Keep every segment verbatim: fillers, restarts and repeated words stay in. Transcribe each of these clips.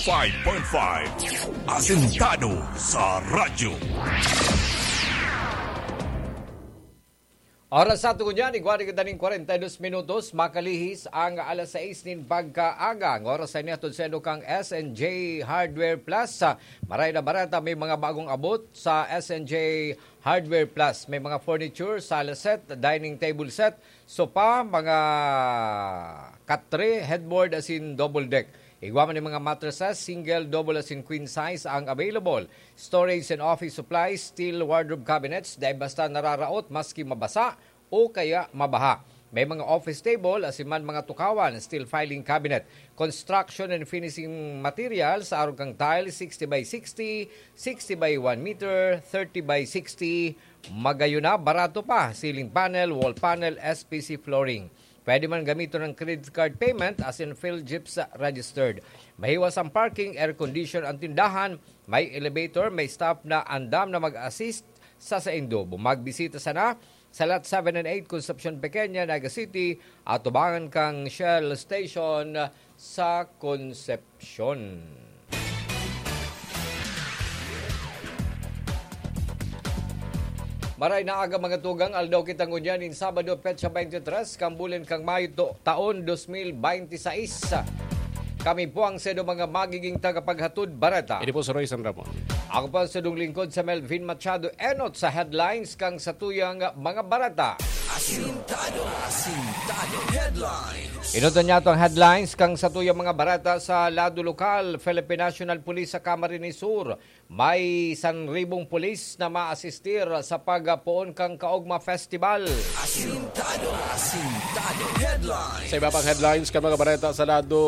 Five point five. Asintado sa radyo. Oras sa tungo niyan, igwa na kita ning kwarenta y dos minutos, makalihis ang alas sais nin pagkaaga. Ang oras sa inyo hatod sa inyo kang S N J Hardware Plus. Maray na barata, may mga bagong abot sa S N J Hardware Plus. May mga furniture, sala set, dining table set, sofa, mga katre, headboard, asin double deck. Igwa man yung mga mattresses, single, double asin queen size ang available. Storage and office supplies, steel wardrobe cabinets, dai basta nararaot maski mabasa o kaya mabaha. May mga office table, asin man mga tukawan, steel filing cabinet. Construction and finishing materials, arog kang tile, sixty by sixty, sixty by one meter, thirty by sixty. Magayon na, barato pa, ceiling panel, wall panel, S P C flooring. Pwede man gamiton ng credit card payment asin PhilGips registered. Mahiwas ang parking, air condition ang tindahan, may elevator, may staff na andam na mag-assist sa saindo. Magbisita sana sa Lot seven and eight, Concepcion Pequeña, Naga City, atubangan kang Shell Station sa Concepcion. Maray na aga, mga tugang, aldaw kita ngunyan nin Sabado, petsa twenty-three kan bulan kan Mayo, to-, taon dos mil bente y seis. Kami po ang saindo mga magiging tagapaghatod bareta. Ini po si Roy San Ramon. Ako po ang saindong lingkod, si Melvin Machado, enot sa headlines kan satuyang mga bareta. Asintado, asintado headlines. Enoton niyato ang headlines kan satuyang mga bareta sa lado lokal. Philippine National Police sa Camarines Sur. May sanribong pulis na maasistir sa pagpoon kan Kaogma Festival. Asintado, asintado headlines. Sa iba pang headlines kan mga bareta sa lado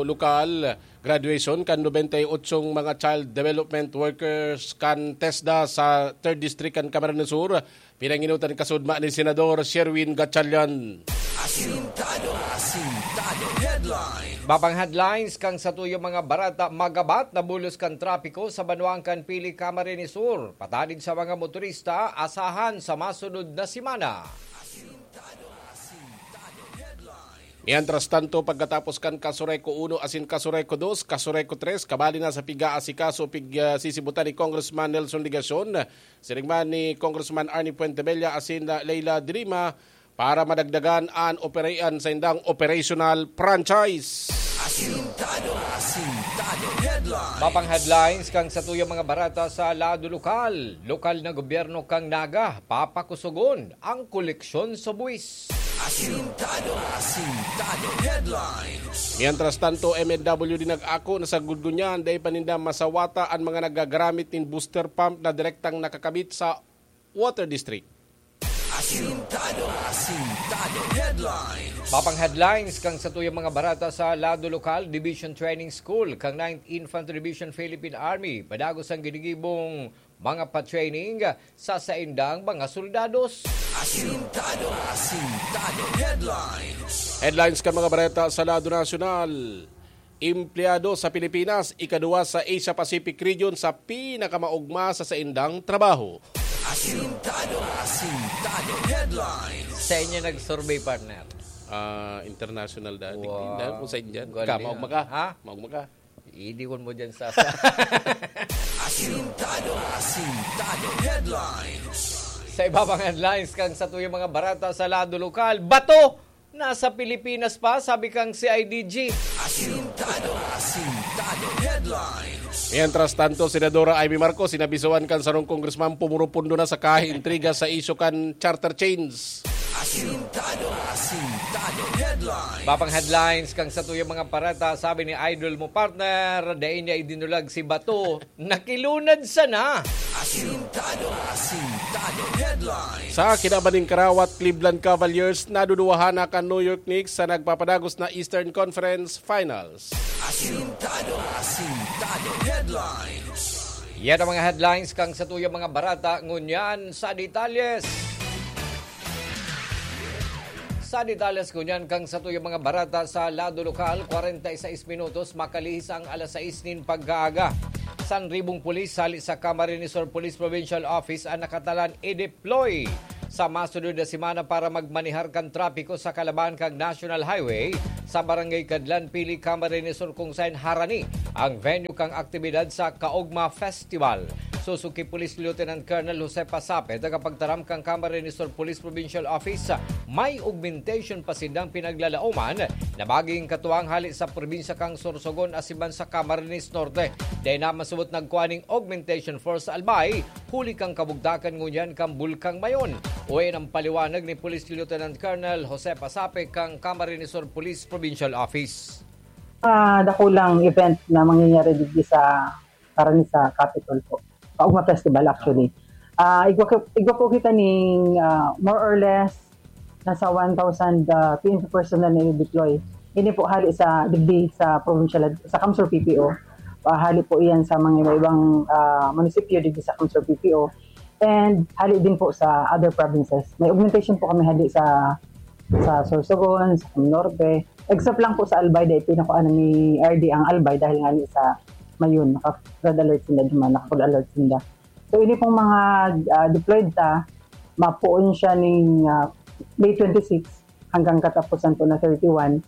lokal, graduation kan nobenta y otsong mga child development workers kan TESDA sa Third District kan Camarines Sur, pinangenotan kasudma ni Senador Sherwin Gatchalian. Asintado, asintado headlines. Iba pang headlines kan satuyang mga bareta, magabat na bulos kan trapiko sa banwaan kan Pili, Camarines Sur. Patanid sa mga motorista, asahan sa masunod na semana. Asintado, asintado headlines. Mientras tanto, pagkatapos kan Casureco uno asin Casureco dos, Casureco tres, kabali na sa pig-aasikaso, pig-, ah, sisibutan ni Congressman Nelson Legacion, siring man ni Congressman Arnie Fuentebella asin, ah, Leila de Lima, para madagdagan an operation sa indang operational franchise. Asintado, asintado headlines. Iba pang headlines kan satuyang mga bareta sa lado lokal. Lokal na gobyerno kan Naga, papakusogon ang koleksyon sa buwis. Asintado, asintado headlines. Mientras tanto, M N W D nag-ako na sagkod ngunyan, dai pa ninda masawata an mga nagagaramit nin booster pump na direktang nakakabit sa water district. Asintado, asintado headlines. Iba pang headlines kan satuyang mga bareta sa lado lokal, Division Training School kan Ninth Infantry Division Philippine Army. Padagos ang ginigibong mga pa-training sa saindang mga soldados. Asintado, asintado headlines. Headlines kan mga bareta sa lado nasyonal. Empleyado sa Pilipinas, ikaduwa sa Asia Pacific region sa pinakamaogma sa saindang trabaho. Asintado, asintado headlines. Sa inyo nag-survey, partner? Ah, international dati. Wow. Hindi, kung sa Indian. Galing, ah. Ka, maogma ka? Ha? Maogma ka? Idiwan mo dyan sa, sa Asintado, asintado headlines. Sa iba pang headlines kan satuyang mga bareta sa lado lokal, bato nasa Pilipinas pa, sabi kang C I D G. Asintado, asintado headlines. Mientras tanto, Senadora Imee Marcos, sinabisoan kan sarong congressman pumurupundo na sa kaha-intriga sa isyu kan charter chains. Asintado, asintado headlines. Iba pang headlines kan satuyang mga bareta, sabi ni idol mo, partner, dai niya idinulag si bato, nakilunad sana. Asintado, asintado headlines. Sa kinaban nin karawat, Cleveland Cavaliers naduduwahan na kan New York Knicks sa nagpapadagos na Eastern Conference Finals. Asintado, asintado headlines. Yan ang mga headlines kan satuyang mga bareta. Ngunyan sa detalyes. Sa detalyes ngunyan kan satuyang mga bareta sa lado lokal, kwarenta y seis minutos makalihis ang alas sais nin pagkaaga. Sanribong pulis hali sa Camarines Sur Police Provincial Office ang nakatalan i-deploy sa masunod na semana para magmanehar kan trapiko sa kalabahan kan National Highway sa Barangay Cadlan, Pili, Camarines Sur, kung saen harani ang venue kan aktibidad sa Kaugma Festival. Susuki Police Lieutenant Colonel Jose Pasape, tagapagtaram kan Camarines Sur Police Provincial Office, may augmentation pa sindang pinaglalaoman na magigin katuwang hali sa probinsya kan Sorsogon asin man sa Camarines Norte. Dai na masabot nagkua nin augmentation force sa Albay, huli kan kabugtakan ngunyan kan Bulkang Mayon. Uya an paliwanag ni Police Lieutenant Colonel Jose Pasape kan Camarines Sur Police Provincial Office. Ah, dakulang event na mangyayari digdi sa, karani sa Capitol po. Kaugma Festival, actually. Ah, igwa, igwa po kita ning, ah, more or less, nasa one thousand, ah, P N P personnel na i-deploy. Ini po hali sa, digdi sa provincial, sa CamSur P P O. Ah, hali po iyan sa mga iba-ibang, ah, munisipyo digdi sa CamSur P P O. And hali din po sa other provinces. May augmentation po kami hali sa, sa Sorsogon, sa Norte. Except lang po sa Albay, dahil pinakuha na ni R D ang Albay dahil nga ni sa Mayon, naka-red alert sila duman, naka-full alert sila. So, ini pong mga, ah, deployed ta, mapuon siya ning, ah, May twenty-six hanggang katapusan po na thirty-one,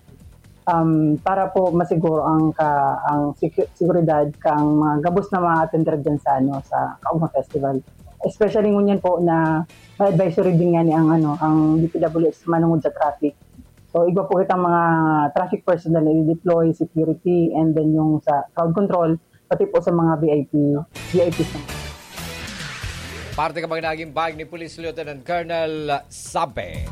um, para po masiguro ang ka-, ang secu-, seguridad kang mga gabos na mga attender dyan sa, ano, sa Kaugma Festival. Especially ngunyan po na may advisory din nga ni ang, ano, ang D P W H manungod sa traffic. So, igwa po kitang mga traffic personnel na i-deploy, security, and then yung sa crowd control, pati po sa mga V I P, V I Ps naman. Parte kan mga naging pahayag ni Police Lieutenant Colonel Sape.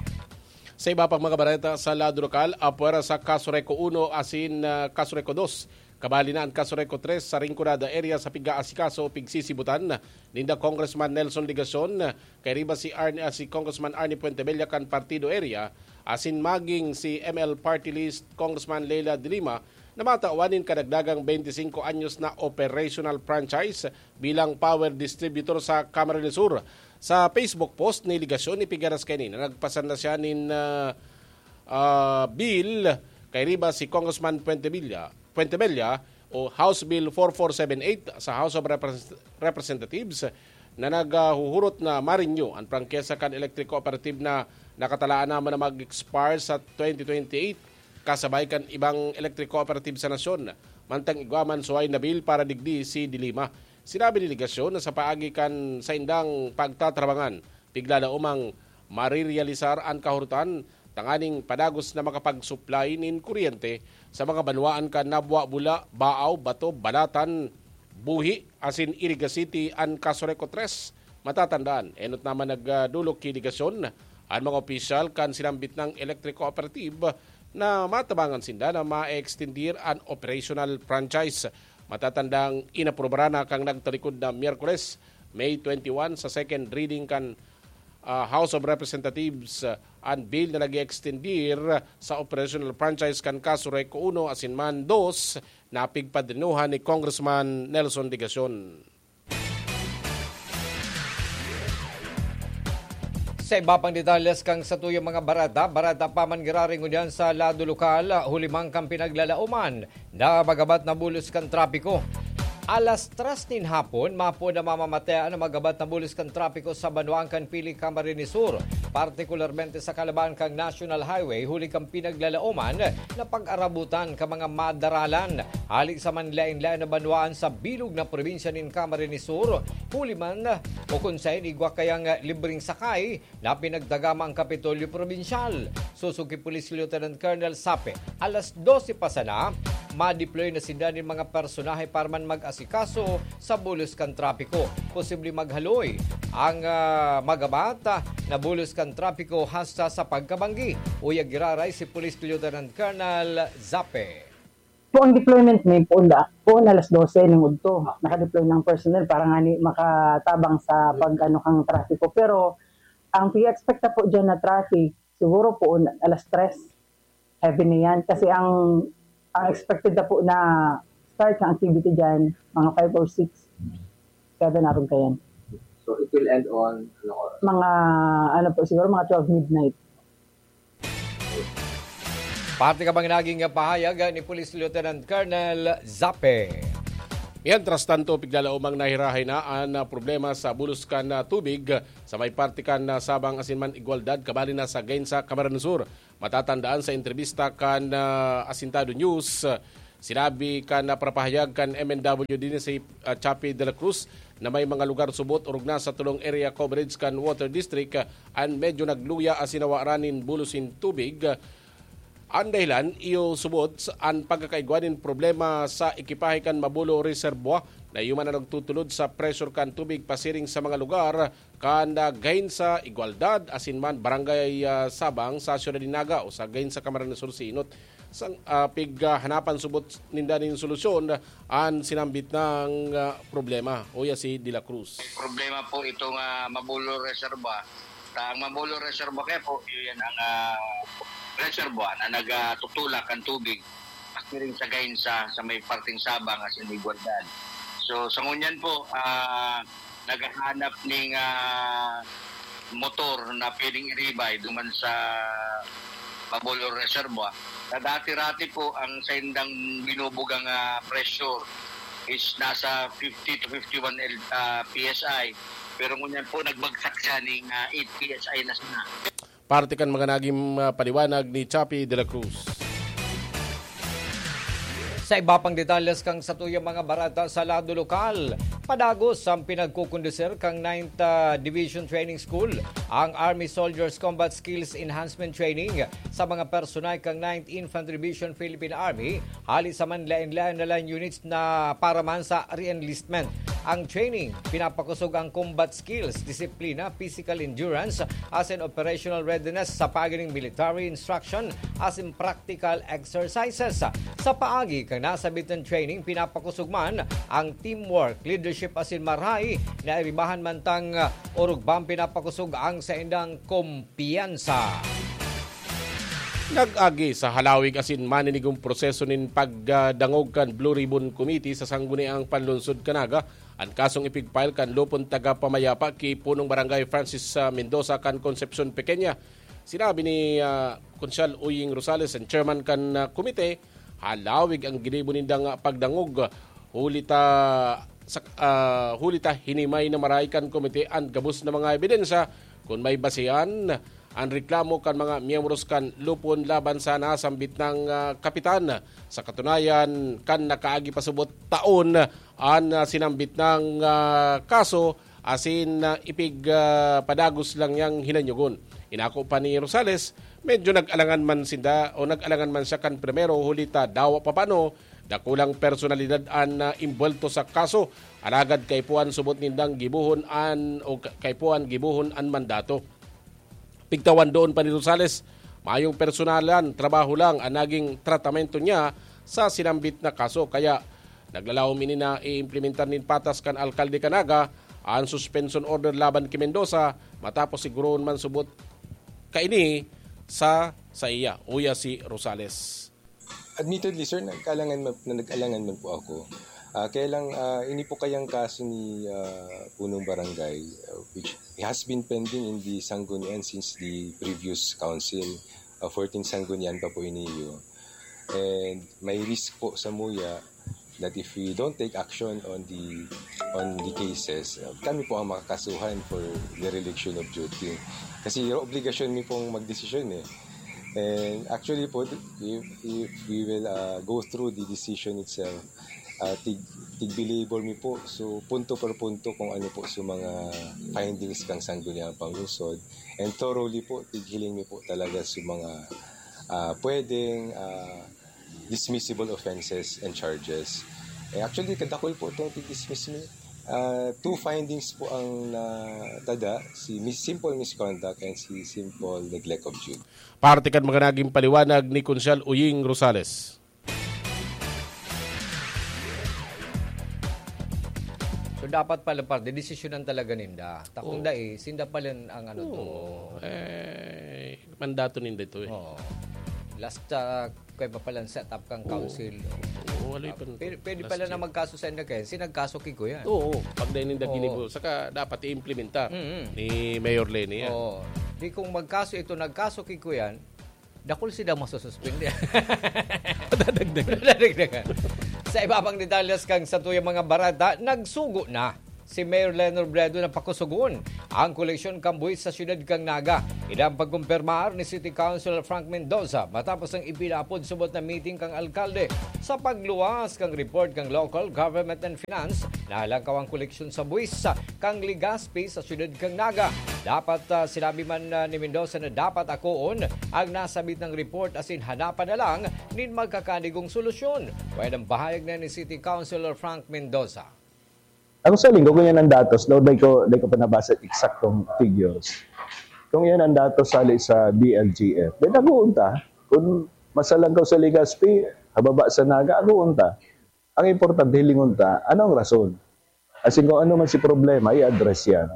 Sa iba pang mga bareta sa lado lokal, apwera sa Casureco uno asin, ah, Casureco dos, kabali na an Casureco tres sa Rinconada area sa pig-aasikaso o pigsisibutan ninda Congressman Nelson Legacion, kairiba si Arne, ah, si Congressman Arne Fuentebella kan Partido area, asin maging si M L Party List Congressman Leila de Lima na matawan nin kadagdagang twenty-cinco anyos na operational franchise bilang power distributor sa Camarines Sur. Sa Facebook post ni Legacion, ipigaras kaini na nagpasanda siya nin, ah, ah, bill kairiba si Congressman Fuentebella, Fuentebella o House Bill four four seven eight sa House of Repres-, Representatives na naghuhurot na ma-renew an prangkisa kan electric cooperative na nakatalaan naman na mag-expire sa twenty twenty-eight, kasabay kan ibang electric cooperative sa nasyon. Mantang igwa man suway na bill para digdi si De Lima. Sinabi ni Legacion na sa paagi kan saindang pagtatrabangan, tigla na umang marirealisar an kahurotan tanganing padagos na makapag-supply nin kuryente sa mga banwaan kan Nabua, Bula, Baaw, Bato, Balatan, Buhi, asin Iriga City an Casureco tres. Matatandaan, enot naman nagdolok ki Legacion an mga opisyal kan sinambit nang electric cooperative na matabangan sinda na ma-extendir an operational franchise. Matatandang inaprubaran na kan nagtalikod na Miyerkules, May twenty-one, sa second reading kan, ah, House of Representatives, ah, an bill na nag-extendir sa operational franchise kan Casureco uno asin man dos na pigpadrinuhan ni Congressman Nelson Legacion. Sa iba pang detalles kan satuyang mga bareta, bareta pa man giraray ngunyan sa lado lokal, huli man kan pinaglalaoman na magabat na bulos kan trapiko. Alas tres nin hapon, mapo na mamamatean ang magabat na bulos kan trapiko sa banwaan kan Pili, Camarines Sur, partikularmente sa kalaban kan National Highway, huli kan pinaglalaoman na pag-arabutan kan mga madaralan hali sa manlaen-laen na banwaan sa bilog na probinsya nin Camarines Sur, huli man o kun saen igwa kayang libreng sakay na pinagtagama ang Kapitolyo Probinsyal. Susuki Police Lieutenant Colonel Sape, alas dose pa sana, madeploy na sinda nin mga personahe para man mag-asikaso sa bulos kan trapiko. Posible maghaloy ang, ah, magabat, ah, na bulos kan trapiko hasta sa pagkabanggi. Uya giraray si Police Lieutenant Colonel Zape. Po ang deployment may poon da, poon alas dose ning udto. Nakadeploy ng personnel para ngani makatabang sa pag-ano kang trapiko. Pero ang pia-expect ta po diyan na traffic, siguro poon alas tres. Heavy na yan. Kasi ang, ang expected na po na start ng activity diyan, mga five or six, seven aron kayan. So, it will end on, ano oras? Mga, ano po, siguro mga twelve midnight. Parte kan mga naging pahayag ni Police Lieutenant Colonel Zape. Mientras tanto, piglalaomang nahirahay na an, ah, problema sa bulos kan, ah, tubig sa may parte kan, ah, Sabang asin man Igualdad, kabali na sa Gainza, Camarines Sur. Matatandaan sa entrevista kan, ah, Asintado News, ah, sinabi kan, ah, parapahayag kan M N W din si, ah, Chappie de la Cruz na may mga lugar subot orog na sa tulong area coverage kan Water District, ah, an medyo nagluya asin nawaran nin bulos nin tubig. Ah, an dahilan, iyo subot sa, an pagkakaigwa nin problema sa ekipahe kan Mabulo Reservoir na iyo man an nagtutulod sa pressure kan tubig pasiring sa mga lugar kan, ah, Gainza, Igualdad, asin man Barangay, ah, Sabang sa siyudad nin Naga o sa Gainza, Camarines Sur, Sinot. Sang, ah, pig, ah, hanapan subot ninda nin solusyon an sinambit na, ah, problema. Uya si De La Cruz. Problema po itong, ah, Mabulo Reservoir. Sa ang Mabulo Reservoir kaya po, yun yan ang, ah, reservoir na nagtutulak ang tubig. Pakiring sa Gainza, sa may parting Sabang, as in Igualdad. So, sa ngunyan po, ah, naghahanap ning, ah, motor na pwedeng i-revive duman sa Mabulo Reservoir. Na dati-rati po, ang saindang binubugang, ah, pressure is nasa fifty to fifty-one L, ah, P S I. Pero ngunyan po, nagbagsak siya ning, ah, eight P S I na sana. Parte kan mga naging, ah, paliwanag ni Chappie de la Cruz. Sa iba pang detalles kan satuyang mga bareta sa lado lokal, padagos ang pinagkukondusir kan Ninth, ah, Division Training School, ang Army Soldiers Combat Skills Enhancement Training, sa mga personal kan Ninth Infantry Division Philippine Army, hali sa manlaen-laen na line units na para man sa re-enlistment. Ang training, pinapakosog ang combat skills, disiplina, physical endurance, asin operational readiness sa paagi nin military instruction asin practical exercises. Sa paagi kan nasabit na training, pinapakosog man ang teamwork, leadership asin marahay na iribahan man tang orog bang pinapakosog ang saindang kumpiyansa. Nag-agi sa halawig asin maninigong proseso nin pagdangog kan Blue Ribbon Committee sa Sangguniang Panlungsod kan Naga an kasong ipig-file kan lupon taga-pamayapa ki punong barangay Francis, ah, Mendoza kan Concepcion Pequeña. Sinabi ni, ah, Konsyal Uying Rosales, ang chairman kan, ah, komite, halawig ang ginibo nindang, ah, pagdangog. Huli ta sa, ah, huli ta hinimay na marahay kan komite an gabos na mga ebidensya kun may basehan an reklamo kan mga miyembros kan lupon laban sa nasambit na, ah, kapitan. Sa katunayan, kan nakaagi pa subot taon an, ah, sinambit na, ah, kaso asin, ah, ipig, ah, padagos lang niyang hinanyogon. Inako pa ni Rosales, medyo nag-alangan man sinda o nag-alangan man siya kan primero, huli ta dawa pa paano, dakulang personalidad an, ah, imbuwelto sa kaso. Alagad kaipuhan subot nindang gibohon an, o ka-, kaipuhan gibohon an mandato. Pigtawan doon pa ni Rosales, mayong personalan, trabaho lang an naging tratamento niya sa sinambit na kaso. Kaya naglalawom ini na iimplementar nin patas kan alkalde kan Naga an suspension order laban ki Mendoza matapos siguroon man subot kaini sa saiya, uya si Rosales. Admittedly, sir, nagkalangan man, na nag-alangan man po ako. Ah, kaya lang, ah, ini po kayang kaso ni, ah, Punong Barangay, ah, which has been pending in the Sanggunian since the previous council, ah, fourteenth Sanggunian pa po iniyo. And may risk po sa muya that if we don't take action on the, on the cases, uh, kami po ang makakasuhan for dereliction of duty. Kasi obligasyon mi pong magdesisyon eh. And actually po, if, if we will, uh, go through the decision itself, uh, tig, tig-belabor mi po. So, punto per punto kung ano po sa mga findings kang Sangguniang Panglungsod. And thoroughly po, tighiling mi po talaga sa mga, uh, pwedeng, uh, dismissible offenses and charges. Eh, actually, kadakul po itong tig-dismiss mi. Ah, two findings po ang natada, si mis-, simple misconduct and si simple neglect of duty. Parte kan mga naging paliwanag ni Konsyal Uying Rosales. So, dapat pala, parte, desisyonan talaga ninda. Takong Oo. dai, sinda pala ang ano to. Oo. Eh, mandato ninda ito eh. Oo. Last, ah, kaya pa palang set up kang Oo. council. Oo, wala Ah, yung pwede, pwede last pala na year. magkaso sa inyo kaya. Si nagkaso ki Kuya. Oo, pag dahil ninda Oo. ginibo. Saka dapat i-implementa Mm-mm. ni Mayor Leni yan. Oo. Di kung magkaso ito, nagkaso ki Kuya, dakul sila masususpindi. Dadagdagan. Dadagdagan. Sa iba pang detalles kang satuyang mga bareta, nagsugo na Si Mayor Leno Robredo na pakusugon ang koleksyon kan buwis sa siyudad kan Naga. Idang pagkumpirmar ni City Councilor Frank Mendoza matapos ang ipinapod subot na meeting kan alkalde sa pagluwas kan report kan Local Government and Finance na halangkaw ang koleksyon sa buwis kan Legazpi sa siyudad kan Naga. Dapat, ah, sinabi man, ah, ni Mendoza na dapat akoon ang nasabit na report asin hanapan na lang nin magkakadigong solusyon. Pwedeng bahayag na ni City Councilor Frank Mendoza. Ako sa linggo, kung yan ang datos, no, di ko, di ko pa nabasa eksaktong figures. Kung yan ang datos sali sa D L G F, then naguon ta. Kung masalang ka sa Legazpi, hababa sa Naga, aguon ta. Ang importante, hilingon ta, ano ang rason? As in, kung ano man si problema, i-address yan.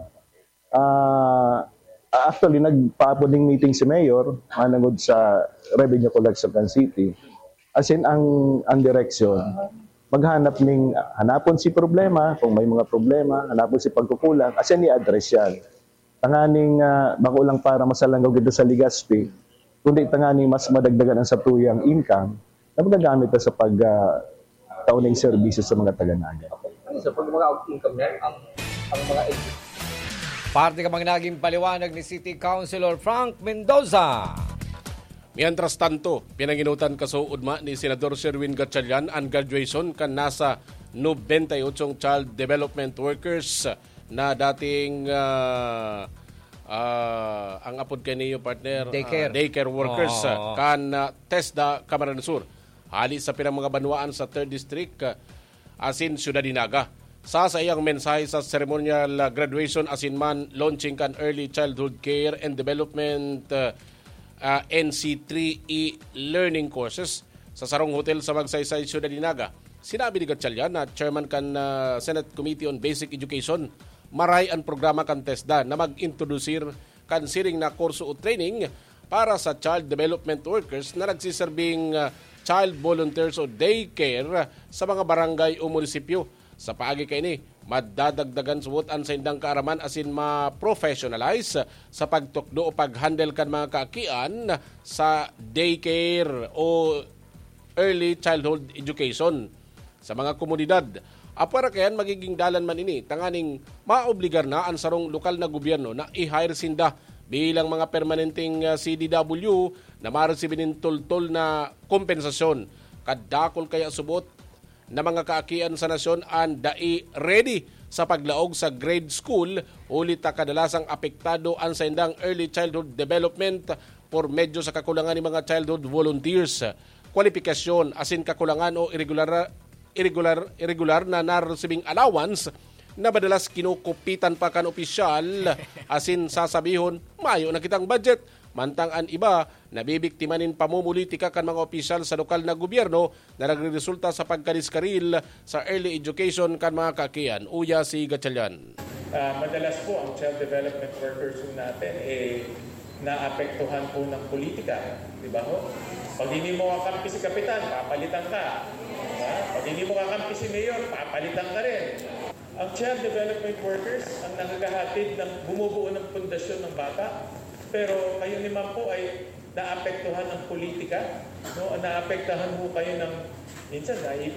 Ah, actually, nagpaapod ning meeting si Mayor, manangod sa revenue collection kan city. As in, ang, ang direksyon, maghanap ning, hanapon si problema, kung may mga problema, hanapon si pagkukulang, as in, i-address yan. Tanganing, ah, bako lang para masalanggaw kita sa Legazpi, kundi tanganing mas madagdagan ang satuyang income na magagamit na sa pag, ah, tao ng serbisyo sa mga taga-Naga. Ano sa pag mga income na ang, ang mga Parte ka mang naging paliwanag ni City Councilor Frank Mendoza. Mientras tanto, pinanginutan kasuodma ni Senador Sherwin Gatchalian an graduation kan nasa nobenta y ocho child development workers na dating ah, ah, ang apod kaniyo partner, ah, Daycare. daycare workers Oo. ah, kan ah, TESDA Camarines Sur. Hali sa pirang mga banwaan sa third District, ah, asin Syudad ni Naga. Sa saiyang mensahe sa ceremonial ah, graduation asin man launching kan Early Childhood Care and Development ah, ah, N C three e-learning courses sa sarong hotel sa Magsaysay, Syudad ni Naga, sinabi ni Gatchalian na chairman kan ah, Senate Committee on Basic Education, maray an programa kan TESDA na mag-introdusir kan siring na kurso o training para sa child development workers na nagsiserbing ah, child volunteers o daycare sa mga barangay o munisipyo. Sa paagi kaini, madadagdagan subot an saindang kaaraman asin ma-professionalize sa pagtukdo o pag-handle kan mga kaakian sa daycare o early childhood education sa mga komunidad. Apwera kaiyan, magiging dalan man ini tanganing maobligar na an sarong lokal na gobyerno na i-hire sinda bilang mga permanenteng ah, C D W na maresibi nin toltol na kompensasyon. Kadakul kaya subot na mga kaakian sa nasyon an dai ready sa paglaog sa grade school, huli ta kadalasang apektado an saindang early childhood development por medyo sa kakulangan ni mga childhood volunteers, kwalipikasyon asin kakulangan o irregular, irregular, irregular na naresibing allowance na madalas kinukupitan pa kan opisyal asin sasabihon, "Mayo na kitang budget." Mantang an iba nabibiktima nin pamumulitika kan mga opisyal sa lokal na gobyerno na nagreresulta sa pagkadiskaril sa early education kan mga kaakian. Uya si Gatchalian. Ah, madalas po ang child development workers po natin eh naapektuhan po ng politika, di ba ho? Pag hindi mo kakampi si kapitan, papalitan ka. Di ba? Pag hindi mo kakampi si mayor, papalitan ka rin. Ang child development workers ang nakakahatid ng bumubuo ng pundasyon ng bata. Pero kayo naman po ay naapektuhan ng politika, no? Naapektahan ho kayo ng minsan ay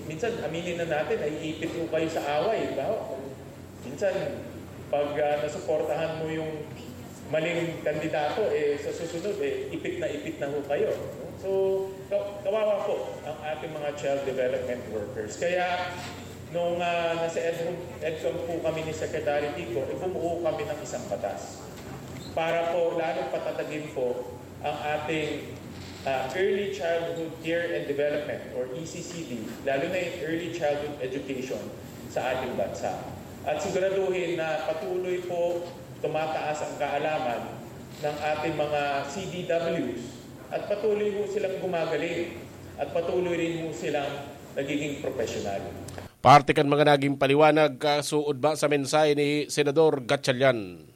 minsan aminin na natin ay ipit ho kayo sa away, di ba? Minsan pag ah, nasuportahan mo yung maling kandidato eh sa susunod eh ipit na ipit na ho kayo, no? So ka- kawawa po ang ating mga child development workers. Kaya nung ah, nasa EDCOM, EDCOM po kami ni Secretary Kiko, eh, bumuo kami ng isang batas para po lalong patatagin po ang ating ah, early childhood care and development or E C C D, lalo na yung early childhood education sa ating bansa. At siguraduhin na patuloy po tumataas ang kaalaman ng ating mga C D Ws at patuloy ho silang gumagaling at patuloy rin ho silang nagiging professional. Parte kan mga naging paliwanag kasuod ba sa mensahe ni Senador Gatchalian.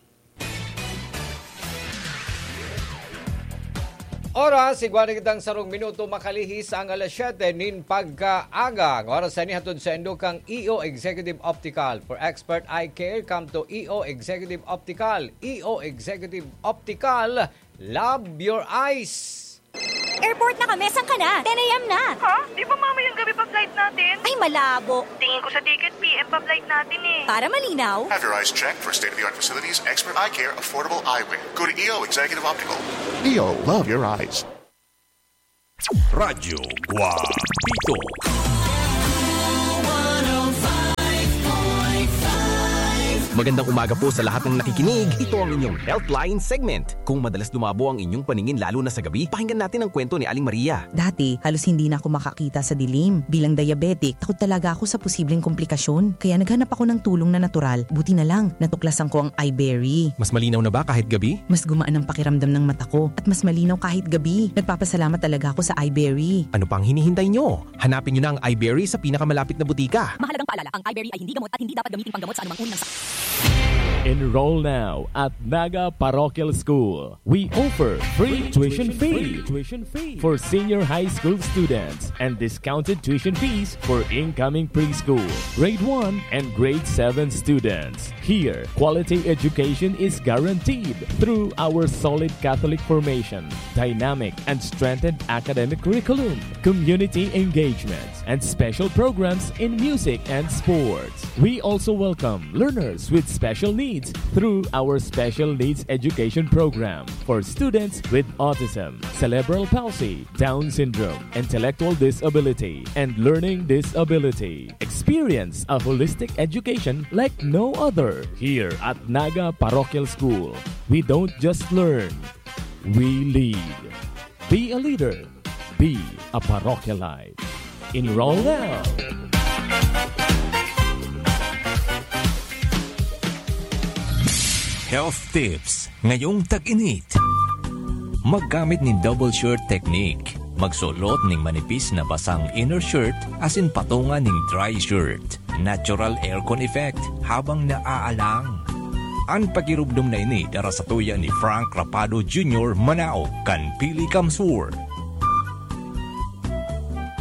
Oras, igwa na kitang sarong minuto makalihis ang alas siyete nin pagkaaga. Ang oras na ini hatod saindo kan E O Executive Optical. For expert eye care, come to E O Executive Optical. E O Executive Optical, love your eyes. Airport na kami, saan ka na? Ten a m na. Ha? Di ba mamayang gabi pa flight natin? Ay, malabo. Tingin ko sa ticket, P M pa flight natin eh. Para malinaw. Have your eyes checked for state-of-the-art facilities, expert eye care, affordable eyewear. Go to E O Executive Optical. E O, love your eyes. Radyo Guapito. Magandang umaga po sa lahat ng nakikinig. Ito ang inyong Healthline segment. Kung madalas lumabo ang inyong paningin lalo na sa gabi, pakinggan natin ang kwento ni Aling Maria. Dati, halos hindi na ako makakita sa dilim. Bilang diabetic, takot talaga ako sa posibleng komplikasyon. Kaya naghanap ako ng tulong na natural. Buti na lang, natuklasan ko ang iBerry. Mas malinaw na ba kahit gabi? Mas gumaan ang pakiramdam ng mata ko at mas malinaw kahit gabi. Nagpapasalamat talaga ako sa iBerry. Ano pang hinihintay nyo? Hanapin nyo na ang iBerry sa pinakamalapit na butika. Mahalagang paalala, ang iBerry ay hindi gamot at hindi dapat gamitin panggamot sa anumang uri ng sakit. Enroll now at Naga Parochial School. We offer free tuition fee for senior high school students and discounted tuition fees for incoming preschool, grade one, and grade seven students. Here, quality education is guaranteed through our solid Catholic formation, dynamic and strengthened academic curriculum, community engagement, and special programs in music and sports. We also welcome learners with special needs through our Special Needs Education Program for students with autism, cerebral palsy, Down syndrome, intellectual disability, and learning disability. Experience a holistic education like no other. Here at Naga Parochial School, we don't just learn, we lead. Be a leader. Be a Parochialite. Enroll now! Health tips ngayong tag-init. Maggamit nin double shirt technique. Magsulot ning manipis na basang inner shirt asin patunga ning dry shirt. Natural aircon effect habang naaalang. An pagirubdom na ini dara satuya ni Frank Rapado Junior, manaog kan Pili Kamsur.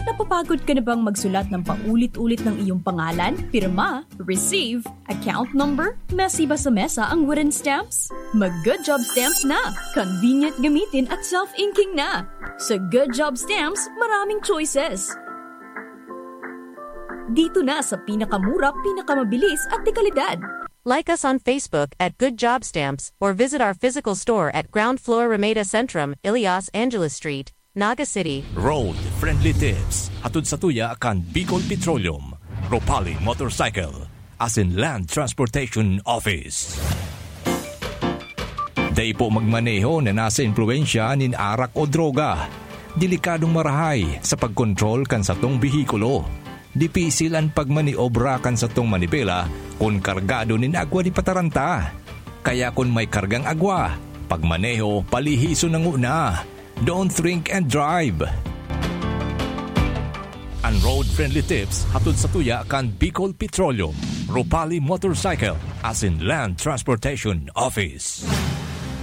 Napapagod ka na bang magsulat ng paulit-ulit ng iyong pangalan, pirma, receive, account number? Messy ba sa mesa ang wooden stamps? Mag Good Job Stamps na! Convenient gamitin at self-inking na! Sa Good Job Stamps, maraming choices. Dito na sa pinakamura, pinakamabilis at dekalidad. Like us on Facebook at Good Job Stamps or visit our physical store at ground floor Ramada Centrum, Ilias Angeles Street, Naga City. Road Friendly Tips, hatod satuya kan Bicol Petroleum, Ropali Motorcycle, asin Land Transportation Office. Dai po magmaneho na nasa impluwensya nin arak o droga. Delikadong marahay sa pagkontrol kan satong behikulo. Dipisil an pagmaniobra kan satong manibela kun kargado nin agwa di pataranta. Kaya kun may kargang agwa, pagmaneho palihison na nguna. Don't drink and drive. An Road Friendly Tips hatod satuya kan Bicol Petroleum, Ropali Motorcycle, asin Land Transportation Office.